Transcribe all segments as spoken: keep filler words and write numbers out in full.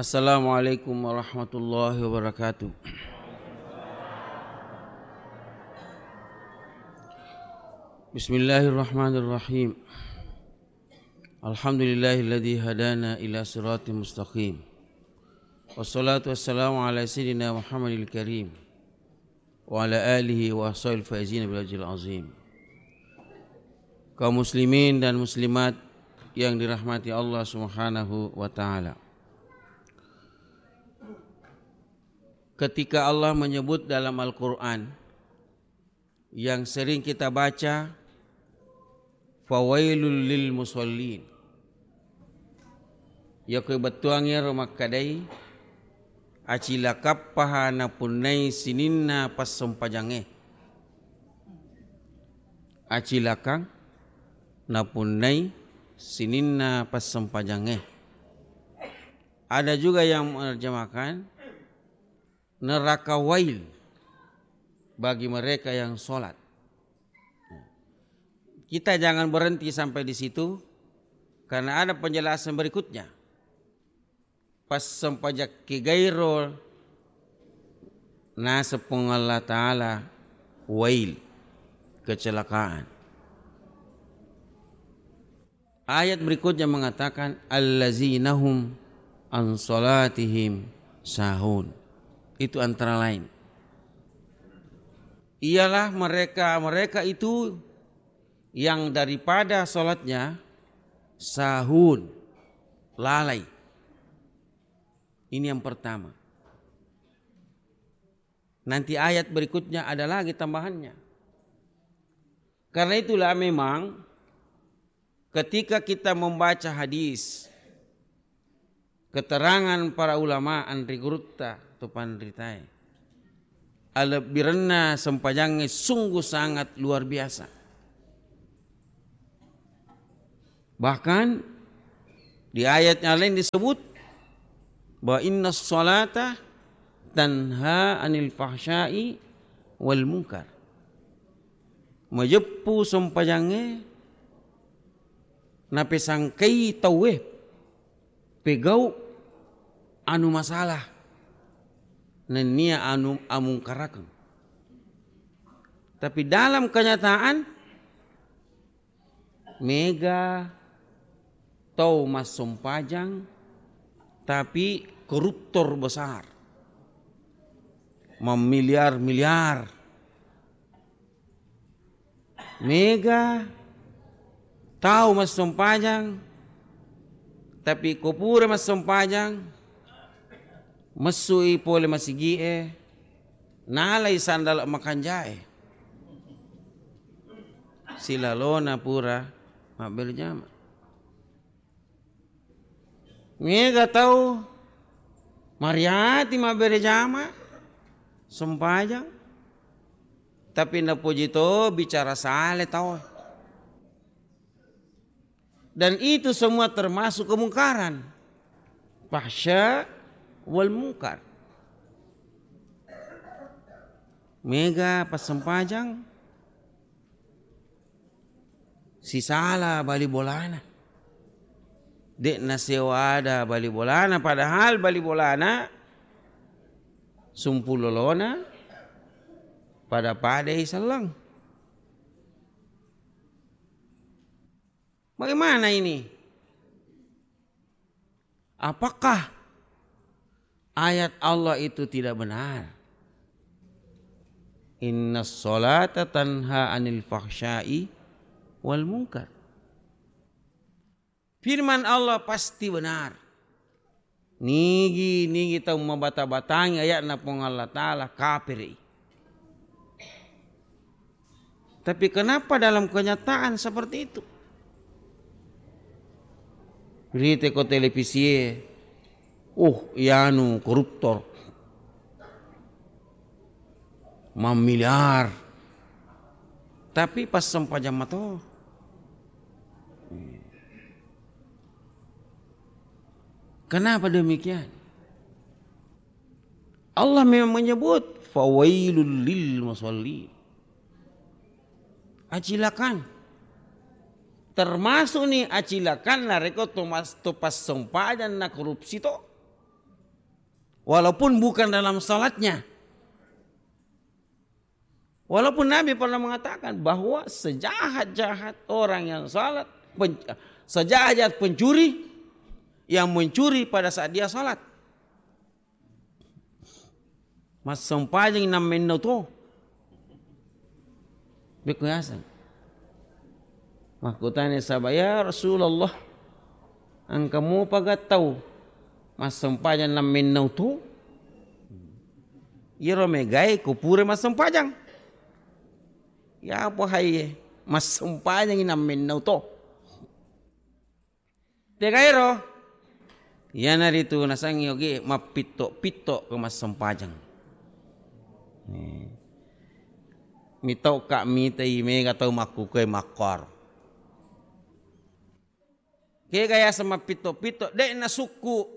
Assalamualaikum warahmatullahi wabarakatuh. Bismillahirrahmanirrahim. Alhamdulillahilladzi hadana ila siratal mustaqim. Wassalatu wassalamu ala sayyidina Muhammadil karim wa ala alihi wa ashabil faizina bil ajril azim. Kaum muslimin dan muslimat yang dirahmati Allah Subhanahu wa taala. Ketika Allah menyebut dalam Al-Qur'an yang sering kita baca, "Fawailul lil musallin." Yako bettuangnge ro makkadai, acilakappaha napunnai sininna passempajangnge. Acilakang napunnai sininna passempajangnge. Ada juga yang menerjemahkan, neraka wail bagi mereka yang sholat. Kita jangan berhenti sampai di situ, karena ada penjelasan berikutnya. Pas sempajakki gairo, naseng Puang Allah Ta'ala, wail, kecelakaan. Ayat berikutnya mengatakan, "Allazinahum an salatihim sahun." Itu antara lain. Ialah mereka-mereka itu yang daripada salatnya sahun, lalai. Ini yang pertama. Nanti ayat berikutnya ada lagi tambahannya. Karena itulah memang ketika kita membaca hadis, keterangan para ulama anri gurutta tu panritae, alebbirenna sempajangnge sungguh sangat luar biasa. Bahkan di ayat yang lain disebut bahwa inna salata tanha anil fahsyai wal munkar. Majeppu sempajangnge napesangkai tauwe pegau anu masalah nennia anu amungkarakeng. Tapi dalam kenyataan mega tau massompajang, tapi koruptor besar, mammiliar-miliar. Mega tau massompajang, tapi ko pura massompajang, messui pole masigie, nalai sandala makanjae. Silalona pura mabbere jama. Mega tau mariati mabbere jama, sempajang, tapi napoji to bicara sale tau. Dan itu semua termasuk kemungkaran. Fahsya wal mungkar. Mega passempajang, sisala bali bolana. De'na sewa ada bali bolana, padahal bali bolana sumpulolona pada-padai selleng. Bagaimana ini? Apakah ayat Allah itu tidak benar? Inna salata tanha anil fahsyai wal munkar. Firman Allah pasti benar. Nigi-nigi tau mabata-batangi ayatna Puang Allah Ta'ala, kapiri. Tapi kenapa dalam kenyataan seperti itu? Rite ko televisie, uh, ianu koruptor, mammiliar, tapi pas sempajang mato. Kenapa demikian? Allah memang menyebut, "Fawailul lil musallin." Acilakan. Termasuk ni acilakan narekko to mas-, to passempajang na korupsi to. Walaupun bukan dalam salatnya. Walaupun Nabi pernah mengatakan bahwa sejahat-jahat orang yang salat, pen-, sejahat-jahat pencuri yang mencuri pada saat dia salat. Massempajang nammennau to. Bekku yaseng. Makkutana saba, "Ya Rasulullah, engka mopa ga tau massempajang nammennau to?" Iyaro megae ko pura massempajang. Ya apa haiye, massempajang nammennau to. Tegaero, iyanaritu nasengngi ogi mappitto-pitto ko massempajang. Eh. Mitauka mitai mega tau makkukue makkor. Kega yaseng mappitto-pitto, de' nasukku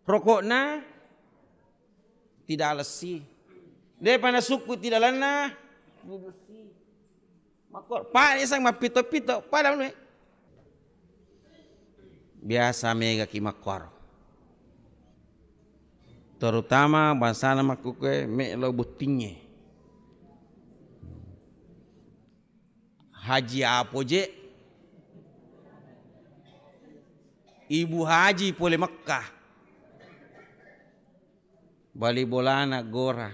roko'na, tidak lessi. De'pa nasukku tidak lenna, tidak lessi. Makkor, pa yaseng mappitto-pitto, pada anu, eh. Biasa mega ki makkor. Terutama bangsana makkukue me'lo bottingnge. Haji Apo je. Ibu Haji pole Mekkah. Bali bolana gora.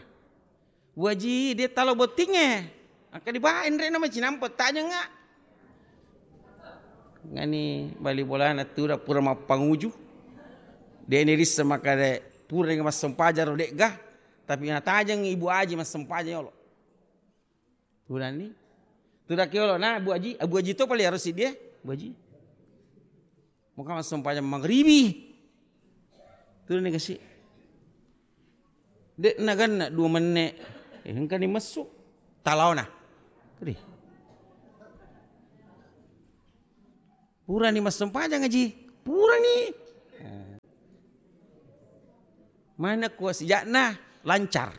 Waji, de' talo bottingnge. Engka dibawa enre'na macinampa tajengnga. Ngani bali bolana tuda pura mappanguju. De' nirissa makkada pura massempajang ro de'ga. Tapi natajeng Ibu Aji massempajang yolo. Tudani. Tudaki yolo na Bu Aji, Abu Aji to pale harus dia, Bu Aji. Muka massempajang magribi. Tudani kasi. De' naganna dua menne. Eh, engkani messu. Talaona. Kedi. Purani massempajang, Aji. Purani. Mana kuwa sijakna lancar.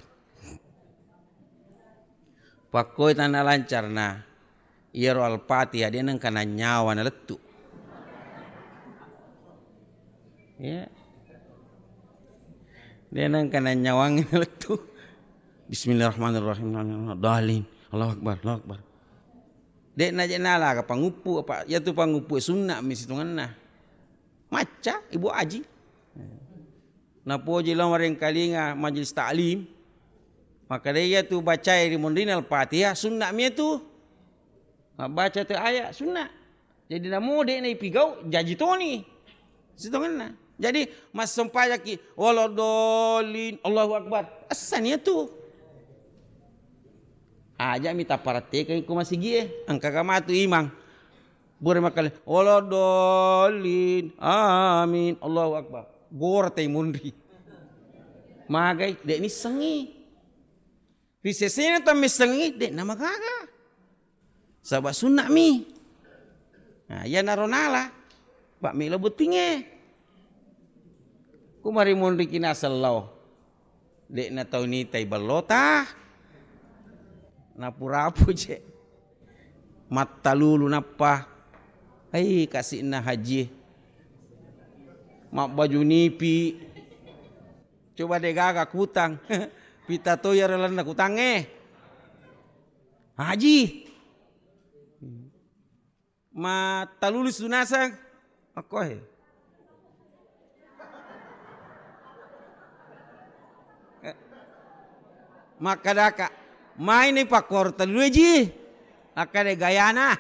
Pakkoi tanna lancarna. Iyaro Al-Fatihah de' nengka nanyawa nalettu. Ya. De' nengka nanyawangngi nalettu. Bismillahirrahmanirrahim. Dalin. Allahu Akbar, Allahu Akbar. De' naje nala aga panguppu apa, iyatu panguppu sunna mi sitongenna. Macca Ibu Aji. Napoji lao marengkalinga majelis taklim. Maka de' iyatu bacai ri monrina Al-Fatihah, sunna mi iyatu. Mabbaca tu ayat sunna. Jadi namo de' naipigau, jaji toni. Sitongenna. Jadi massempajaki, "Waladhdallin, Allahu Akbar." Essani iyatu. Aja mi tapparattekeng ko masigie, engka ga matu imang. Bure makkale, "Waladhdallin, amin, Allahu Akbar." Gor tai munri. Magai, de' nissengi. Ri sesena tammissengi, de' namagaga. Saba' sunna mi. Nah, iyanaro nala, pa' melo bottingnge. Kumari monriki naseng lao. De' natau nitai ballota. Napurapu je. Mattalulu nappa. Ai, kasi'na haji. Mabbaju nipi. Coba de' gaga kutang. Pita to iyaro lalenna kutangnge. Haji. Mattalulu sunaseng. Makkoe. Makkadaka, "Maini pakkoro tellue ji?" Akkade, "Gayana."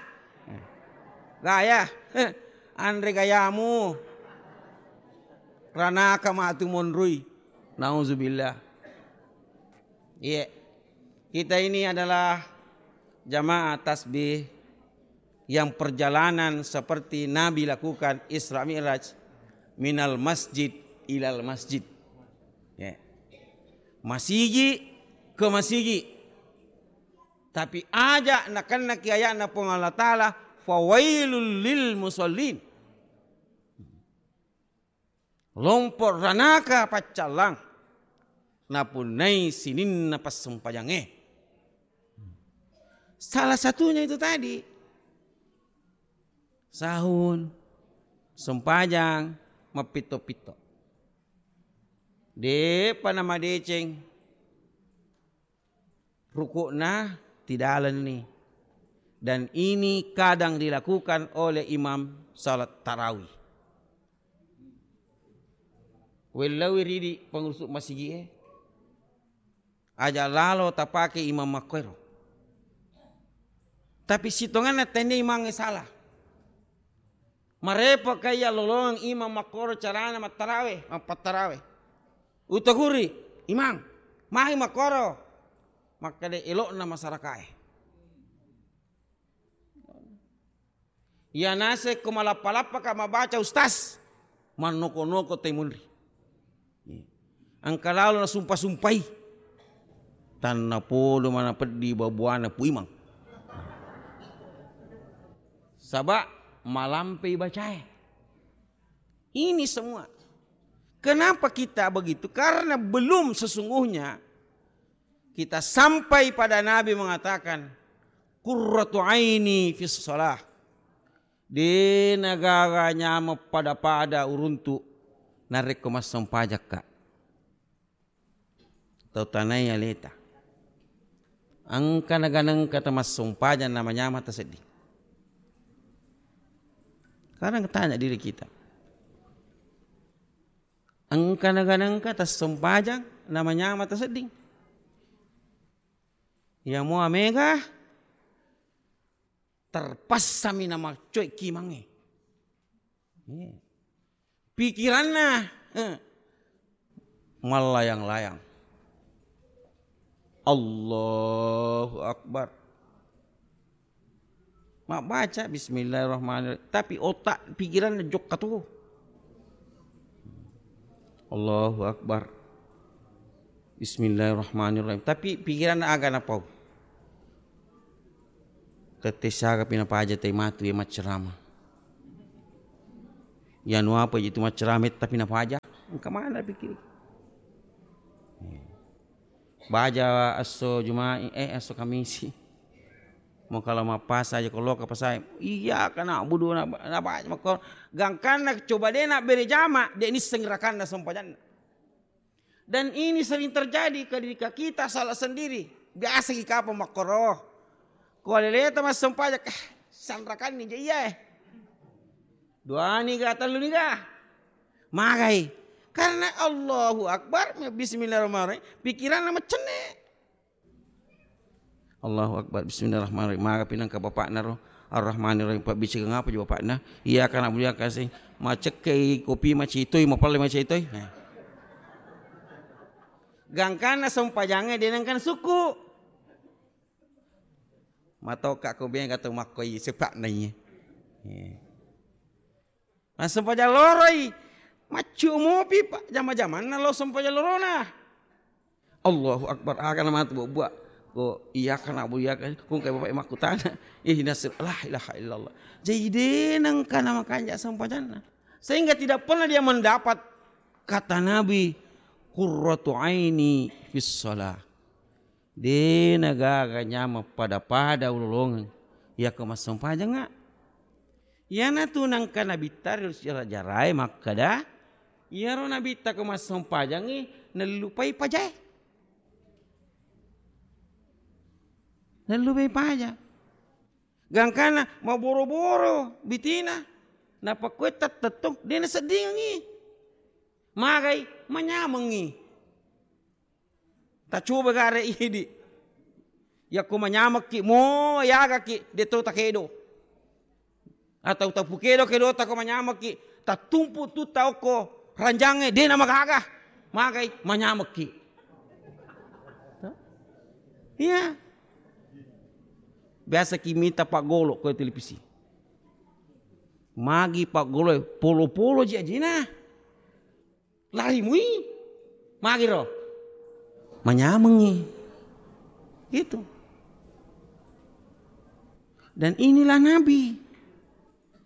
Gaya. Anre gayamu. Ranaka matu monrui. Nauzubillah. Iya. Kita ini adalah jamaah tasbih yang perjalanan seperti Nabi lakukan Isra Mi'raj, minal masjid ilal masjid. Ya. Masigi ke masigi. Tapi aja nakennaki ayatna Puang Allah Ta'ala, "Fawailul lil musallin." Lompo ranaka paccallang napunnai sininna passempajangnge. Salah satunya itu tadi. Sahun, sempajang, mappitto-pitto. De'pa namadeceng ruku'na, tidalenni. Dan ini kadang dilakukan oleh imam salat tarawih. Wellaui ridi pengurus masigi'e, aja lalo tapake imam makkoero. Tapi sitonganna tenne imangnge salah. Marepo kaiya lolongeng imam makkoro carana mattarawe, mappattarawe. Utoguri, "Imang, magi makkoro?" Makkeda elo'na masarakae. Iya naseng ko malappa-lappaka mabbaca, Ustaz, mannoko-noko te munri. Engka lalo nasumpa-sumpai. Tannapodo mana peddi babuana Pu Imang. Saba malampei bacae. Ini semua. Kenapa kita begitu? Karena belum sesungguhnya kita sampai pada Nabi mengatakan, "Qurratu aini fis shalah." De nagaga nyameng pada-pada uruntu narekko massempajakka. Tau tanai aleta. Engka naganengka tamassumpajang namanyameng tasedding. Sekarang tanya diri kita. Engka naganengka tassumpajang namanyameng tasedding. Iya mua mega terpassami namaccoi kimangnge. Iya. Pikiranna, eh, mallayang-layang. Allahu Akbar. Mabbaca bismillahirrahmanirrahim, tapi otak pikiranna jokka to. Allahu Akbar. Bismillahirrahmanirrahim. Tapi pikiranna aga napau. Tette siaga pi napaja tai matu iya maccerama. Iya nu apa itu maccerama tapi napaja. Engka mana pikir. Baja esso Juma'i, eh, esso Kamisi. Mau kalau mappasa aja kalau ke pasai. Iya kana budu na, na baca makko. Gangkanna coba de na bere jama, de nisseng rakanna sempajanna. Dan ini sering terjadi ketika kita salah sendiri. Biasa ki kapang makkoro. Ko aleleta massempajang, "Eh, sanrakanni je iya, eh. Duani ga, tellu ni ga." Magai. Karena Allahu Akbar, bismillahirrahmanirrahim, pikiranna macenne. Allahu Akbar. Bismillahirrahmanirrahim. Maga pinangka bapakna ro. Arrahmanirrahim. Pabbicikeng apa je bapakna? Iya kana bulia kasih. Macekkei kopi macitoi, mapalle macitoi. Nah. Gangkanna sempajangnge de nengkan suku. Matoka ko bega tau makkoi sepakna iye. Iya. Massempajang loroi, maccu mopi, Pak, jama-jamanna lo sempajang lorona. Allahu Akbar, aga na matu buak-buak. Ko iyyaka na'budu wa iyyaka, ko engka bapak makkutana. Ihdinas sir-, la ilaha illallah. Jadi de nengka na makanja sempajanna. Sehingga tidak pernah dia mendapat kata Nabi, "Qurratu aini fis shalah." De na gaga nyameng pada-pada ulolongeng iyako massempajangnga. Iyanatu nangka nabitta ri sejarah-jarae makkeda, iyaro nabitta ko massempajangngi nellupai pajae. Nellupai paja. Gangkana maboro-boro bitina, napakkue tettettung, de naseddingengngi. Magai manyamengngi. Tacoba gare idi. Yakko manyamekki mo yagaki de to takedo. Atau tapukedo kedo tako manyamekki, tattumpu tutta okko ranjangnge de namagaga. Magai manyamekki. Iya. Biasa ki mita paggolo ko televisi. Magi paggolo polo-polo ji ajena. Lari mui. Magiro. Manyamengi. Gitu. Dan inilah Nabi.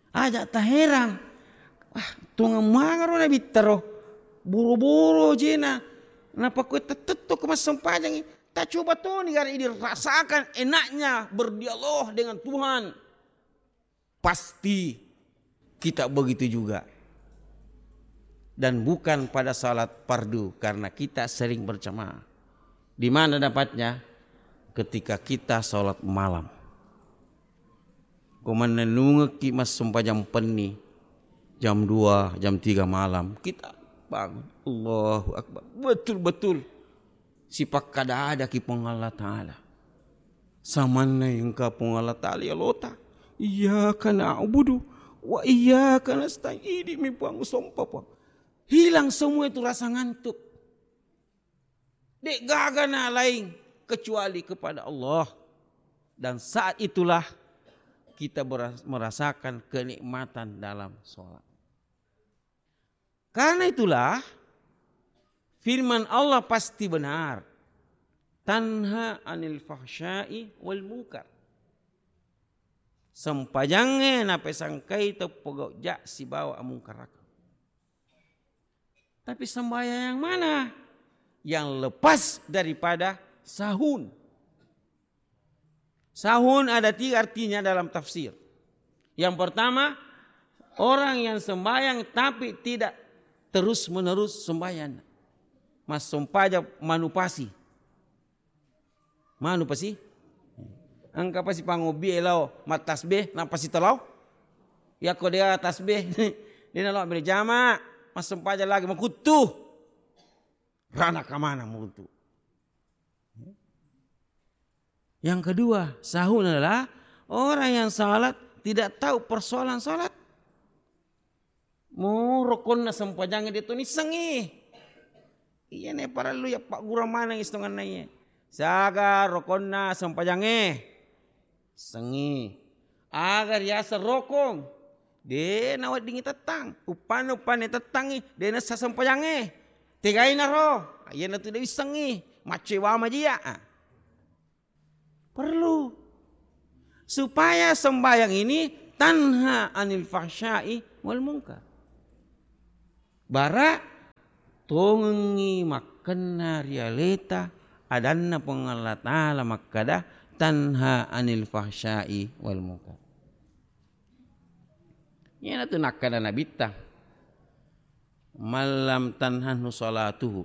Aja taherang. Wah, tongeng magaro Nabi taro. Buru-buru jena. Napakue tettetto ke massempajangi. Tacoba toni gare ini rasakan enaknya berdialog dengan Tuhan. Pasti kita begitu juga. Dan bukan pada salat fardu karena kita sering berjamaah. Di mana dapatnya? Ketika kita salat malam. Ko mannennungekki massempajang penni jam dua, jam tiga malam, kita bangun. Allahu Akbar. Betul-betul sipakkada-adaki Puang Allah Ta'ala. Samanna engka Puang Allah Ta'ala yalota. Iyyaka na'budu wa iyyaka nasta'in. Idi mi Puang, sompa Puang. Hilang semua itu rasa ngantuk. Dek gaga na lain kecuali kepada Allah. Dan saat itulah kita beras-, merasakan kenikmatan dalam sholat. Karena itulah firman Allah pasti benar. Tanha anil fahsyai wal munkar. Sempajangnge napesangkai tau pogau ja sibawa amungkaraka. Tapi sembahyang yang mana? Yang lepas daripada sahun. Sahun ada tiga artinya dalam tafsir. Yang pertama, orang yang sembahyang tapi tidak terus-menerus sembahyang. Massempaja manupasi. Manupasi? Engka pasi pangobbi lao mattasbih, napasi telau. Yakko dia tasbih, dia nalo berjama, massempaja lagi makuttu. Rana kamana mutu. Yang kedua, sahun adalah orang yang salat tidak tahu persoalan salat. Mo rokonna sempajangnge de to nissengngi. Iyana parellu yappaggurang maneng istonganna iye. Siaga rokonna sempajangnge? Sengngi. Aga riaseng rokong? De naweddingngi tettang. Uppanna, uppanna tettangngi, de nessa sempajangnge. Tegaina ro? Iyanatu de wissengngi. Maccoe wa majia. Perlu. Supaya sembahyang ini tanha anil fahsyai wal munkar. Bara tongengngi makkenna ri aleta adanna Puang Allah Ta'ala makkada, "Tanha anil fahsyai wal munkar." Iyanatu nakkada Nabitta, "Mallam tanhanhu salatuhu."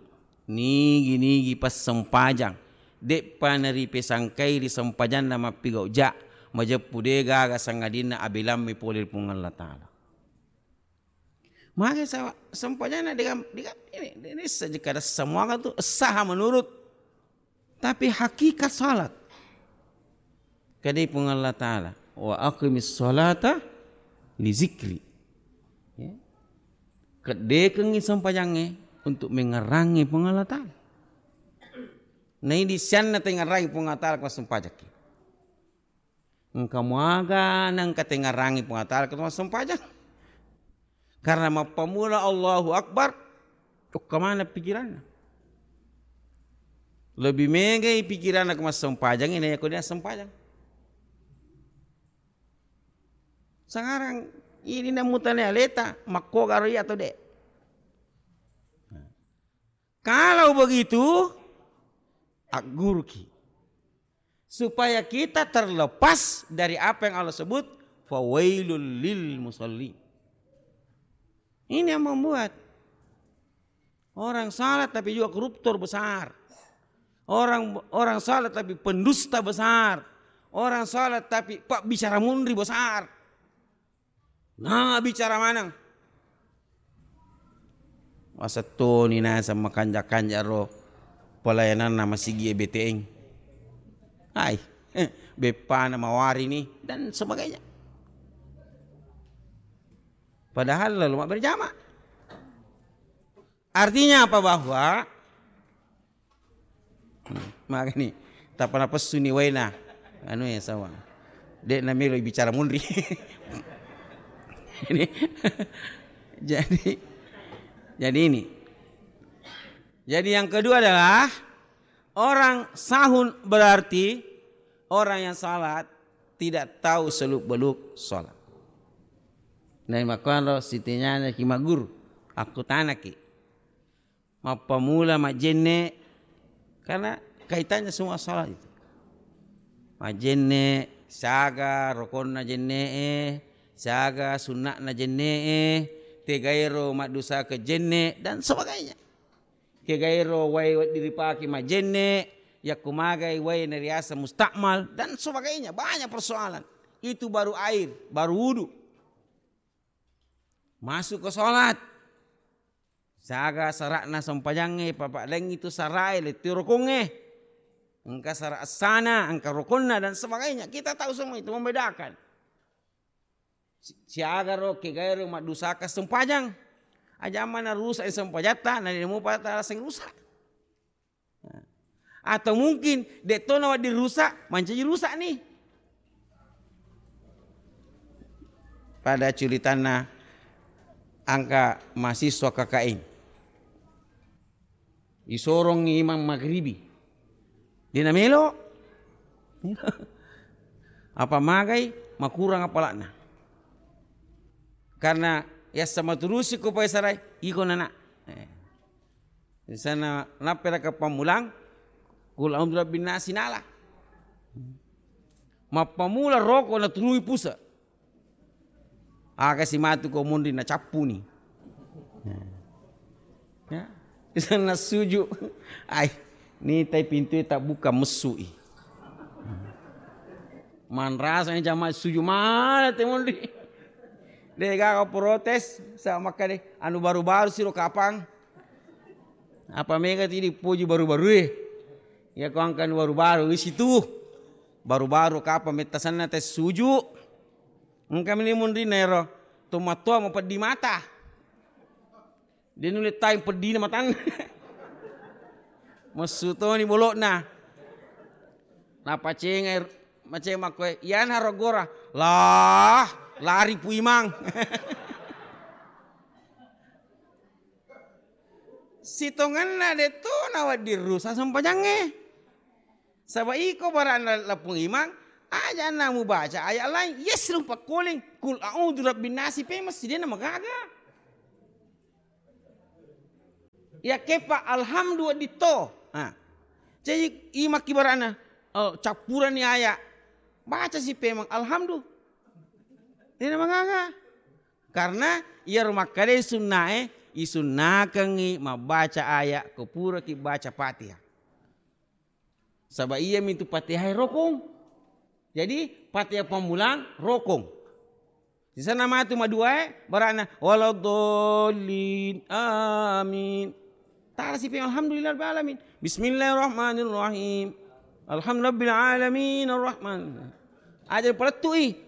Nigi-nigi passempajang, de'pa naripesangkai ri sempajanna mappigau ja, majeppu de gaga sangadinna abelammi pole ri Puang Allah Ta'ala. Maka sa-, sempajanna dengan, dengan ini, ini saja kada semuanya tu sah menurut, tapi hakikat salat. Kadai Puang Allah Ta'ala, "Wa aqimis salata li zikri." Ya. Keddekengngi sempajangnge untuk mengerangi Puang Allah Ta'ala. Nah, ini sianna tengerangi Puang Allah Ta'ala ko sempajakki. Engka muaga nengka tengarangi Puang Allah Ta'ala ketua sempajang. Karena mappamula Allahu Akbar, okka maneng pikiranna. Lebih megai pikiranna ke massempajang ini, aku dia sempajang. Sekarang ini namutane aleta, makko garo iya atau dek? Kalau begitu, agguruki. Supaya kita terlepas dari apa yang Allah sebut, "Fawailul lil musallin." Ini yang membuat orang salat tapi juga koruptor besar. Orang, orang salat tapi pendusta besar. Orang salat tapi pak bicara munri besar. Nah, bicara maneng. Masettoni naseng makanja-kanja ro pelayananna masigi B T N. Hai, beppana mawari ni dan sebagainya. Padahal lalu mak berjamaah. Artinya apa? Bahwa, hmm, makanya tappa napessuni waena anu ya sawang. Dek namelo bicara munri. Ini, jadi, jadi ini. Jadi yang kedua adalah orang sahun berarti orang yang salat tidak tahu seluk-beluk salat. Dan makkoro sitinyana ki maguru, aku tanaki. Mappamula majjenne, karena kaitannya semua salat itu. Majjenne, siaga rokonna jenne'e, siaga sunna'na jenne'e, Tegairo maddusaka jenne dan sebagainya. Kegairo wae wedding ripake majenne, yakko magai wae nariasa mustakmal dan sebagainya. Banyak persoalan. Itu baru air, baru wudu. Masuk ke sholat. Saga sara'na sempajangnge, papa laing itu sarae, lettu rokongnge. Engka sara essana, engka rokonna dan sebagainya. Kita tahu semua itu membedakan. Si-, siaga ro kegae ro maddusaka sempajang. Aja mana rusak sempajatta, na demo pada rasa rusak. Nah. Atau mungkin de' to na wedding rusak, mancaji rusak nih. Pada culitanna angka mahasiswa K K I. Isorongngi imang magribi. De' namelo. Apa magai makurang apala'na. Karena yassa maturusi ko paesarai, iko nana. Eh. Di sana napperaka pammulang, kul a'udzu birabbin nasi nala. Mappamula roko naturui pusa. Aga si matu ko munri nacappuni. Ya. Ya. Di sana suju. Ai, nitai pintu tak buka mesui. Manrasa ni jamaah suju mana te munri. De' gaga protes sama kade anu baru-baru siro kapang. Apa mega ti dipuji baru-baru e. Ya ko angkan baru-baru di situ. Baru-baru kapang metta sanna te suju. Engka meni munrinna ero. Tomatoa mapeddi mata. De' nulle tai peddina matanna. Messu toni bolokna. Napacengai, maceng makkoe, "Iyana ro gora." Lah, lari Pu Imang. Sitongenna de' to na wedding rusak sempajangnge. Saba' iko bara'na lapung imang, aja' na mubaca ayat lain, yesrung pakkoling, kul a'udzu rabbin nasi pemeng si de' na magaga. Yakkepa alhamdu wedding to. Ha. Jadi imakki bara'na, oh, cappurani ayat. Baca si pemeng alhamdu. De' na magaga. Karena iyaro makkadai sunnae, isunnakengngi mabbaca ayat ko puraki baca Fatihah. Saba' iyami tu Fatihah rokong. Jadi Fatihah pammulang rokong. Sisana matu maduae bara'na waladdallin. Amin. Tala sipi alhamdulillah rabbil alamin. Bismillahirrahmanirrahim. Alhamdulillahirabbil alamin arrahman. Aja palettui.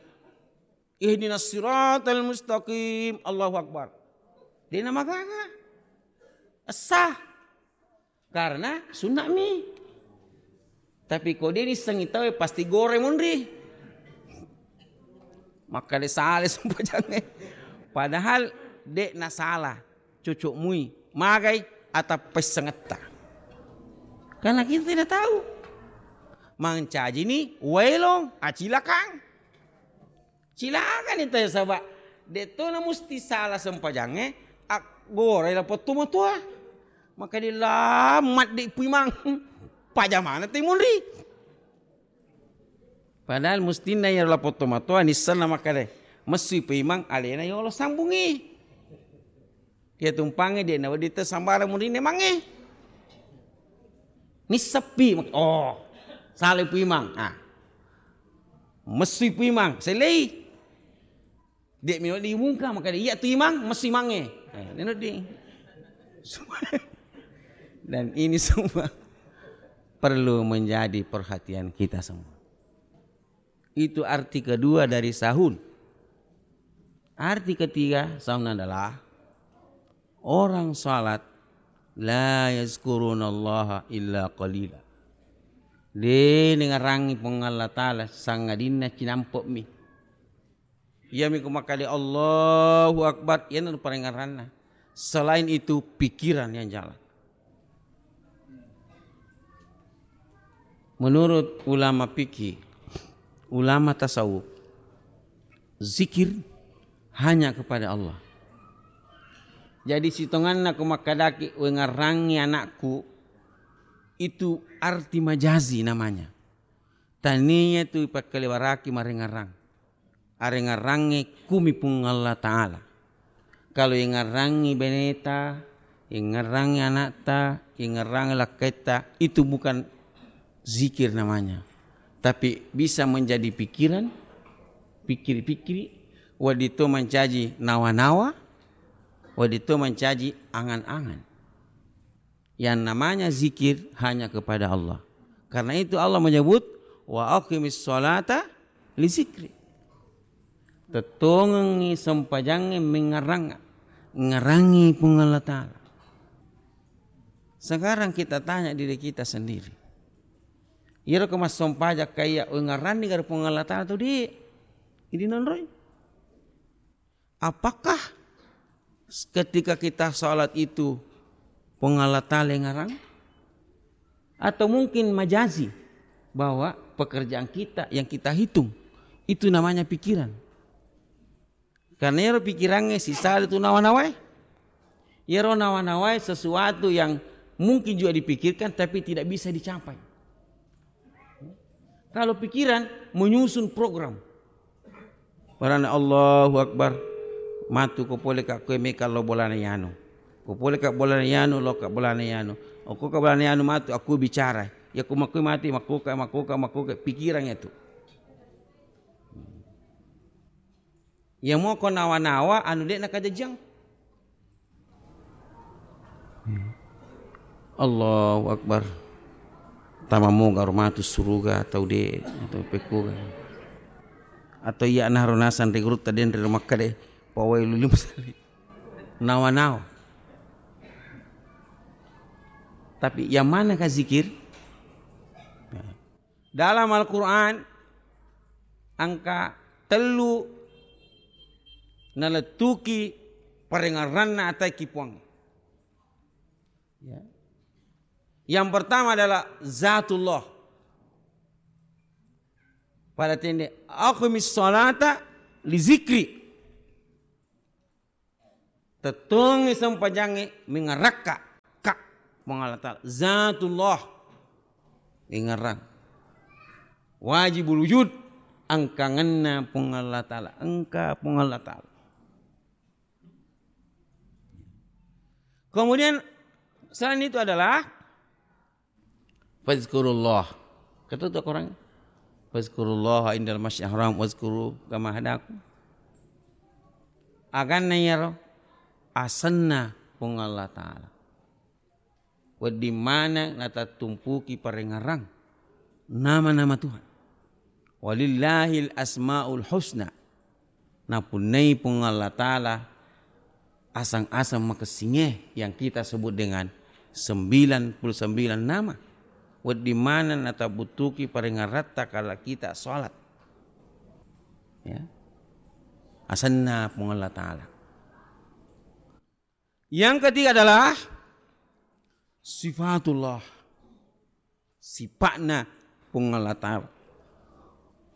Ihdinas siratal mustaqim. Allahu akbar. De' na magaga. Essa. Karena sunna' mi. Tapi ko de' nissengngi tauwe pasti gore munri. Makkeda sala sempajangnge. Padahal de' na sala. Cocok mui. Magai atappa issengetta. Karena kita tidak tahu. Mancaji ni waelong acilakang. Cilakani tauwe saba' de' to na musti sala sempajangnge, aggorai lapong tomatoa. Makkeda lammat de' Pu Imang. Pajamana te munri. Padahal mustinna iyaro lapong tomatoa nissenna makkeda, messui Pu Imang alena yolo sambungi. Iya tumpangnge de' nawedding te sambarang murinne mange. Nisseppi, mak-, oh, salai Pu Imang. Ah. Messui Pu Imang, selei. De' mi wedding mungka, makkeda iya tu Imang, messui mange. Eh, neno di. Dan ini semua perlu menjadi perhatian kita semua. Itu arti kedua dari sahun. Arti ketiga sahun adalah orang salat la yazkurunallaha illa qalila. De' nengarangngi Puang Allah Ta'ala sangadinna cinampe'mi. Iyami ko makkeda Allahu Akbar, iyana parengngeranna. Selain itu pikiran yang jalan. Menurut ulama fikih, ulama tasawuf, zikir hanya kepada Allah. Jadi sitonganna ko makkedaki wengarangngi anakku, itu arti majazi namanya. Tania tu ipakkalewaraki marengarang. Arengarangnge kumi Puang Allah Ta'ala. Kalau ingerrangi beneta, ingerrangi anakta, ingerrangi lakketta, itu bukan zikir namanya. Tapi bisa menjadi pikiran, pikir-pikir, wedding to mancaji nawa-nawa, wedding to mancaji angan-angan. Yang namanya zikir hanya kepada Allah. Karena itu Allah menyebut, "Wa aqimis sholata li zikri." Tettongengngi sempajangnge mengngerang, ngerangi Puang Allah Ta'ala. Sekarang kita tanya diri kita sendiri. Iyaro ko massompajang kaiya, "Oi, ngeranni gare Puang Allah Ta'ala tu di?" Idi nonroi. Apakah ketika kita sholat itu Puang Allah Ta'ala yang ngarang? Atau mungkin majazi bahwa pekerjaan kita yang kita hitung itu namanya pikiran. Karena ero pikirannya sisala tu nawa-nawai. Ero nawa-nawai sesuatu yang mungkin juga dipikirkan tapi tidak bisa dicapai. Kalau pikiran menyusun program. Barana Allahu Akbar. Matu ko pole ka koe meka lo bolana yanu. Ko pole ka bolana yanu, lo ka bolana yanu. Okko ka bolana yanu matu, aku bicara. Ya ko makkoe mati, makkoka, makkoka, makkoka. Pikiran itu. Ya moko nawa-nawa anu de' nakajajang. Allahu Akbar. Tama moga ro matu suruga atau de' atau pekkoga. Atau iya naro nasang ri gurutta denre ro Makkah de'. Pawai luli musali. Nawa-nawa. Tapi yang mana ka zikir? Dalam Al-Quran, engka tellu nalettuki parengngeranna ataiki Puang. Ya. Yang pertama adalah zatullah. Pada tende, "Aqimis sholata li zikri." Tettongi sempajangnge mengerakka ka Puang Allah Ta'ala. Zatullah. Ingerang. Wajibul wujud. Engkangenna Puang Allah Ta'ala. Engka Puang Allah Ta'ala. Kemudian selain itu adalah fazkurullah. Kata tu Quran. Fazkurullah indal masjidil haram wazkuru kama hadakum. Aganna iyaro asenna Puang Allah Ta'ala. Wedding maneng natattumpuki parengngerang nama-nama Tuhan. Walillahil asmaul husna. Napunnai Puang Allah Ta'ala asang-asang makessinge yang kita sebut dengan sembilan puluh sembilan nama. Wedding maneng natabuttuki parengngerratta kala kita sholat. Ya. Asenna Puang Allah Ta'ala. Yang ketiga adalah sifatullah. Sipa'na Puang Allah Ta'ala.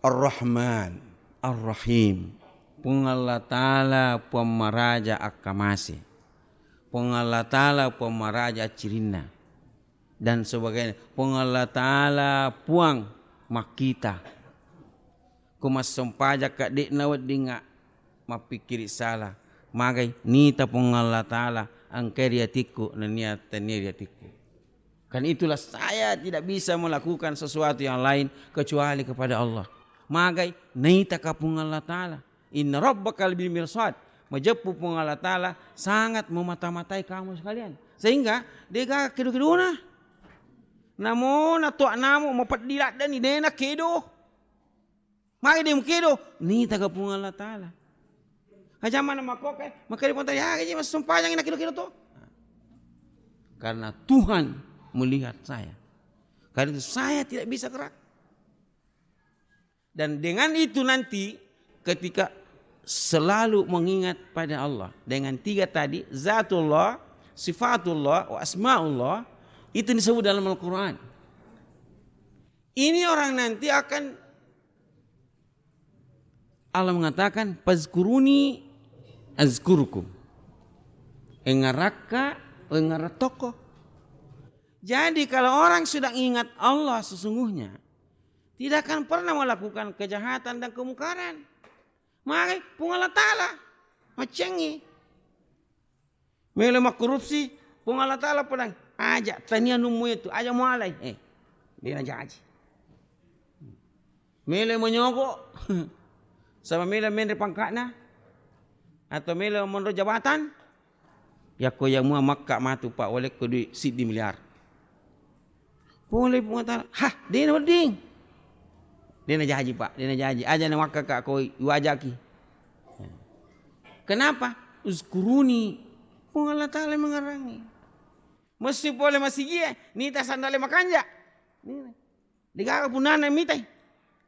Ar-Rahman, Ar-Rahim. Puang Allah Ta'ala Puang maraja akkamase. Puang Allah Ta'ala Puang maraja cirinna. Dan sebagainya. Puang Allah Ta'ala Puang makkita. Ko massompajakka de'na weddingnga mappikkiri sala. Magai nita Puang Allah Ta'ala engkai ri atikku nennia tennia ri atikku. Kan itulah saya tidak bisa melakukan sesuatu yang lain kecuali kepada Allah. Magai naitaka Puang Allah Ta'ala. Inna rabbaka labil mirsad. Majeppu Puang Allah Ta'ala sangat memata-matai kamu sekalian. Sehingga dega kedo-kedona. Namo natoa namo mapeddi laddani dena kedo. Magi de mukedo, nita ka Puang Allah Ta'ala. Aja mana makoke, makanya Puang Ta'ala, ya gaji massumpajang na kiro-kiro to. Karena Tuhan melihat saya. Karena itu saya tidak bisa gerak. Dan dengan itu nanti ketika selalu mengingat pada Allah dengan tiga tadi, zatullah, sifatullah, wa asmaullah, itu disebut dalam Al-Quran. Ini orang nanti akan Allah mengatakan, "Fazkuruni azkurkum." Engarakka, engaratoko. Jadi kalau orang sudah ingat Allah sesungguhnya, tidak akan pernah melakukan kejahatan dan kemungkaran. Maka Puang Allah Ta'ala macengi. Melo makkorupsi, Puang Allah Ta'ala podang, aja, tania nummu itu, aja mualai. Eh, dia najaji. Melo manyoko, sama melo menre pangkatna, atau melo monro jabatan, yakko ya mua makka matu, Pak, walekko duit siddi miliar. Pole Puang Allah Ta'ala, "Hah, dena wedding." Dena jaji, Pak, dena jaji. Aja na makka ka ko iwajaki. Kenapa? Uzkuruni. Puang Allah Ta'ala mengerangi. Messi pole masigie, nita sandale makanja. Nina. Degaga punana mitai.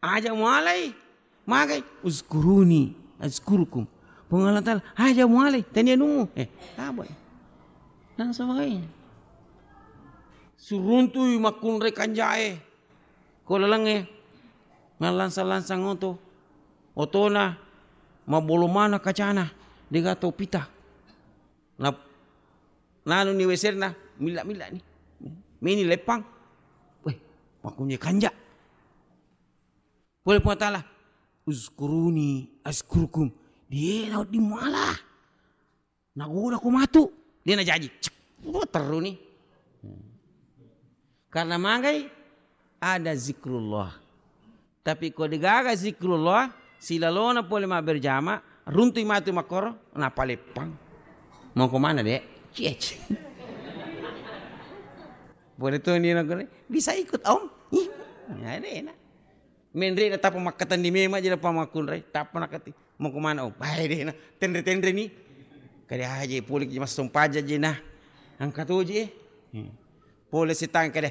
Aja mualai. Magai, "Uzkuruni, azkurukum." Puang Allah Ta'ala, "Aja mualai, tania numu." Eh, apa? Langsung magai. Suruntui makkunrai kanjae. Ko lalengnge, mallansang-lansang oto. Otona, mabolo mana kacana. Dega tau pita. Na, nanu ni weserna, milla-milla ni. Meni leppang. Weh, makkunye kanja. Pole Puang Ta'ala, "Uzkuruni azkurukum." Dia na wedding muala. Nagoda ko matu. Dia najaji. Cek. Wah, terru ni. Karena magai ada zikrullah. Tapi ko degaga zikrullah, silalona pole mabberjama, runtui matu makkoro, napaleppang. Mau ke mana, Dek? Ciec. Boleh tuh ni, bisa ikut, Om? Ih, ya, deh, enak. Menre na tappa makkatenni memang aja, tappa makkunrai, tappa nakati. Mau ke mana, Om? Bae deh, nah, tenre-tenre ni. Kada aja, pole ki massempajang je, nah. Angka toje. Hmm. Pole setang kada.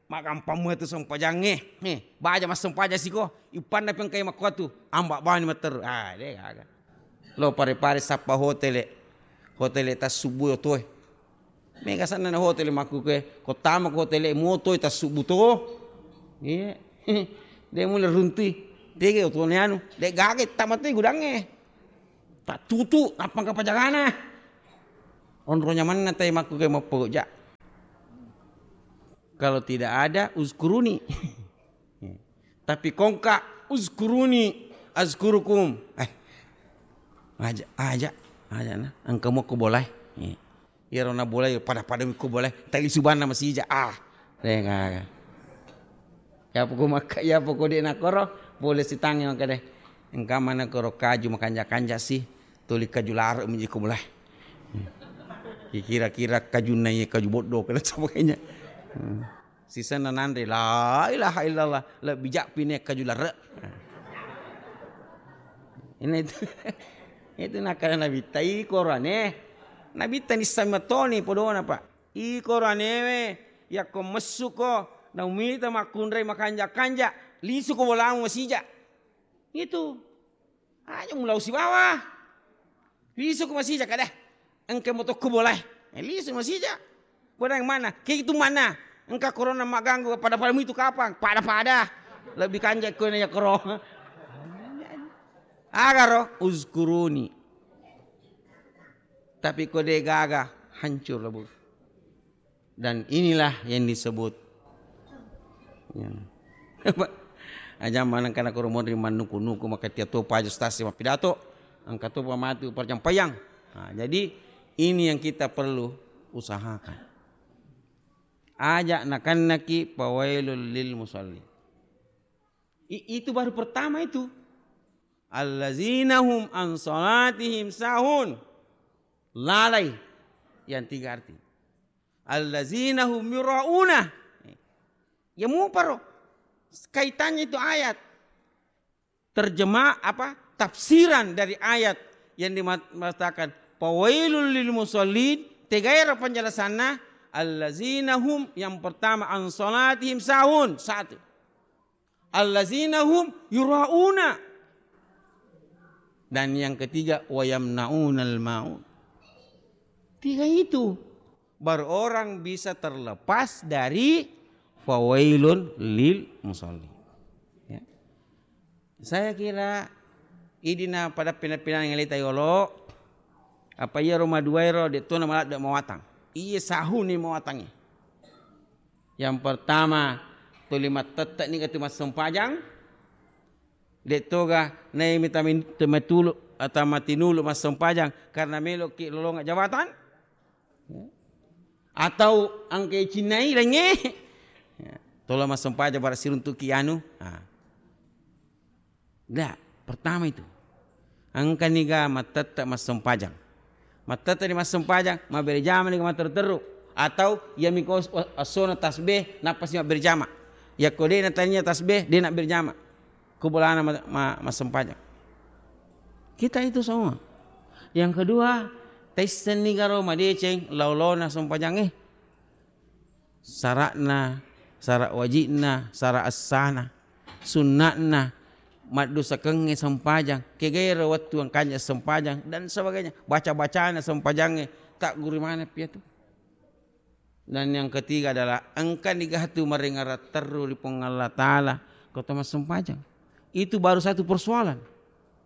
Magampang mua tu sempajangnge. Eh, baja massempajang siko. Ipanna pengkai makkuatu. Amba bani matteru. Ah, deh, gaga. Lo pare-pare sappa hotele. Hotele tassubbu otoe. Mega sanna na hotele makkukue, ko tama ko hotele motoi tassubbu to. Iya. De mula runtui. Tege otone anu, de gage tama toi gudangnge. Tattutu, nappa kapajagana. Onro nyamanna tai makkukue mappoja. Kalau tidak ada, uzkuruni. Tapi kongka, "Uzkuruni, azkurukum." Eh, aja, aja, aja na. Engka mokko bolai. Eh. Iyaro na bolai, pada-pada ko bolai. Tali subanna masija. Ah, deh, gaga. Ya poko makka, ya poko de nakoro, boleh sitangi maka deh. Engka mana koro kaju makanja-kanja sih. Tuli kaju larek menjadi ko bolai. Hmm. Kira-kira kajunna iya kaju bodoh, kena sebagainya. Hmm. Sisenna nanre, la ilaha illallah, lebbi jappi ne kaju larre. Ini itu, itu nakana Nabitta, i korane. Nabitta nissami matoni podona, Pak. I koranewe, yakko messuko, naumita makkunrai makanja-kanja, lisuko bolamu masija. Itu. Aja mulau sibawa. Lisu ko masija kada. Engka motokko bolai. Eh, lisu masija. Bodang mana? Kitu mana? Engka corona magganggu pada-pada itu kapang? Pada-pada. Lebih kanjak ko ya corona. Agaro uzkuruni. Tapi ko de gaga hancur lebur. Dan inilah yang disebut, ya. Apa? Aja maneng kana koro monri mannuku-nuku, maka tia to paja stasi mappidato, engka to pamatu parjampayang. Nah, jadi ini yang kita perlu usahakan. Aja nakannaki pawailul lil musallin. I-, itu baru pertama itu. Allazina hum an salatihim sahun. Lalai. Yang tiga arti. Allazina hum yurauna. Ya muparo. Kaitannya itu ayat. Terjemah apa? Tafsiran dari ayat yang dimatakan. Fawailul lil musallin. Tegaero penjelasannya. Allazina hum, yang pertama, an salatihim sahun. Satu. Allazina hum yurauna. Dan yang ketiga, wa yamnaunal maun. Tiga itu baru orang bisa terlepas dari fawailun lil musallin. Ya. Saya kira idi na pada pina-pina ngelita yolo, apa iya Roma dua ero de tona maladde mawatang. Iya sahuni mawatangi. Yang pertama, tuli mattetteni katu massempajang, de toga nai mita min-, tematulu atau matinulu massempajang karena meloki lolonga jabatan. Ya. Atau engka cinnai laingnge. Ya. Tola massempajang bara siruntuki anu. Ah. Ndak, pertama itu. Engka niga mattette massempajang. Mattette ni massempajang, mabbere jama niga matteru-teru. Atau iya miko os-, os-, osona tasbih, nappa si mabbere jama. Yakko de natania tasbih, de nabbere jama. Ku bolana ma-, ma-, massempajang. Kita itu semua. Yang kedua, taisseng niga ro madeceng lao-laona sempajangnge. Sara'na, sara' wajibna, sara' essana, sunna'na, maddosakengnge sempajang, kegairo wettu engkanya sempajang, dan sebagainya. Baca-bacana sempajangnge, tagguru maneng piatu. Dan yang ketiga adalah engka niga tu marengngerang terru ri Puang Allah Ta'ala, ko to massempajang. Itu baru satu persoalan.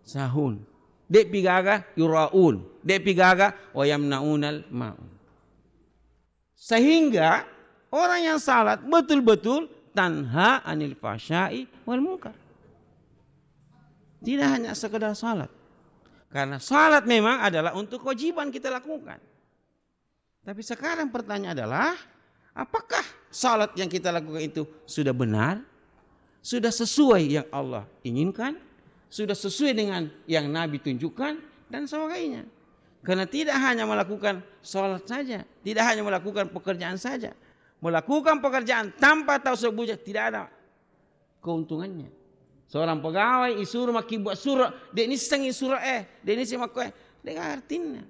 Sahun. De'pi gaga yuraun. De'pi gaga wayamnaunal ma'un. Sehingga orang yang salat betul-betul tanha anil fahsya'i wal munkar. Tidak hanya sekedar salat. Karena salat memang adalah untuk kewajiban kita lakukan. Tapi sekarang pertanyaan adalah, apakah salat yang kita lakukan itu sudah benar? Sudah sesuai yang Allah inginkan? Sudah sesuai dengan yang Nabi tunjukkan? Dan sebagainya. Karena tidak hanya melakukan salat saja, tidak hanya melakukan pekerjaan saja. Melakukan pekerjaan tanpa tahu sebutnya tidak ada keuntungannya. Seorang pegawai isuru makkibbuaq suro, de nissengngi suro e, de nisseng makko e, de artinna.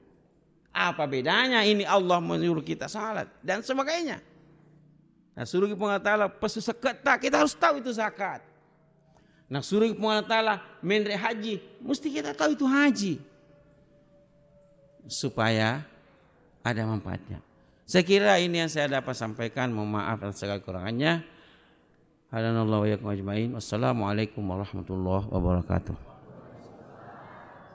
Apa bedanya ini Allah menyuruh kita salat dan sebagainya. Nah, suruh Puang Allah Ta'ala pesu seketta, kita harus tahu itu zakat. Nah, suruh Puang Allah Ta'ala menre haji, mesti kita tahu itu haji. Supaya ada manfaatnya. Saya kira ini yang saya dapat sampaikan. Mohon maaf atas segala kurangannya. Hadanallahu wa iyyakum ajmain. Wassalamualaikum warahmatullahi wabarakatuh.